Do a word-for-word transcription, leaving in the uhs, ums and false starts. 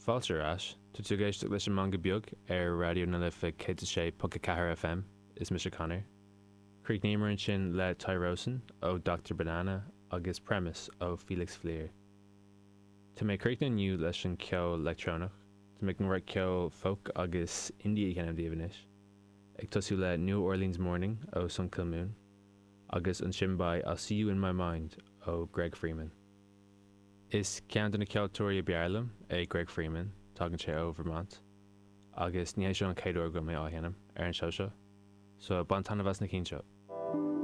Fáilte ar ais, tá tú ag éisteacht leis an Meangadh Beag ar Raidió na Life céad a sé ponc a ceathair FM, is mise Conor. Chríochnaíomar ansin le Tyrosin ó Doctor Banana agus Premise ó Felix Fleer. Tá mé ag críochnú inniu leis an ceol leictreonach, tá mé ag rud ceol folk agus indie a sheinm daoibh anois, ag tosú le New Orleans Morning ó Sun Kil Moon, agus ansin beidh I'll See You in My Mind ó Greg Freeman. Is ceann de na ceoltóirí ab fhearr liom é Greg Freeman, tagann sé ó Vermont, agus ní hé seo an chéad uair go mé á sheinm ar an seó seo, so bain taitneamh as na cinn seo.